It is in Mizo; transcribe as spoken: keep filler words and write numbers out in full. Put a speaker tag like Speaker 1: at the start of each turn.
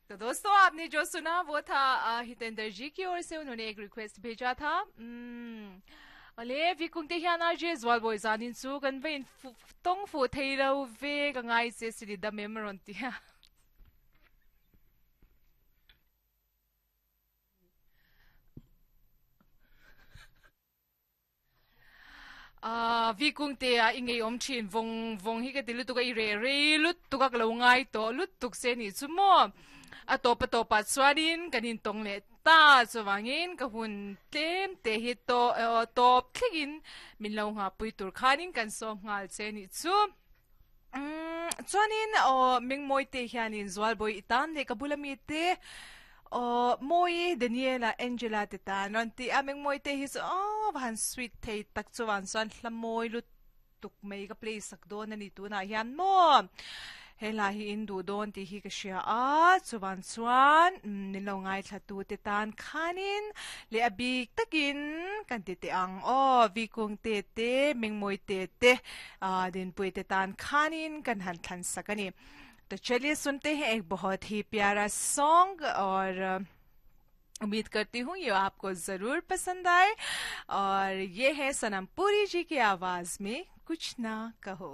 Speaker 1: तो दोस्तों, आपने जो सुना वो था अ, हितेंद्र जी की ओर से उन्होंने एक रिक्वेस्ट भेजा था। उम्म, ale vi kung te hian R J zual bawi zanin chu kan va in tawng fuh thei lo ve ka ngai che sili dam em rawn ti a. Ah, vi kung te a i ngei awm thin vawng vawng hi ka ti lutuk a, i reh rei lutuk a ka lo ngai tawh lutuk se nih chu maw. A tawp a tawpah chuanin kan intawng leh ta chuvangin ka hun tlem te hi tawp thlengin min lo nghahpui tur khanin kan sawm nghal che nih chu. Umm chuanin aw Mengmawi te hianin Zualbawi i tan leh ka bula mite aw Mawi, Daniela, Angela te tan rawn ti a, Mengmawi te hi chu aw va han sweet thei tak chuan chuan hla mawi lut tuk mai ka play sak dawn a ni tunah hian maw he hla hi in duh dawn tih hi ka hria a, chuvan chuan min lo ngaithla tu te tan khanin leh a bik takin kan ti teh ang aw, Vikung te te, Mengmawi te te, Dinpui te tan khanin kan han thlan sak a ni. To chaliye sunte hain ek bahut hi pyara song aur उम्मीद करती हूँ ये आपको जरूर पसंद आए और ये है सनम पुरी जी की आवाज में कुछ ना कहो।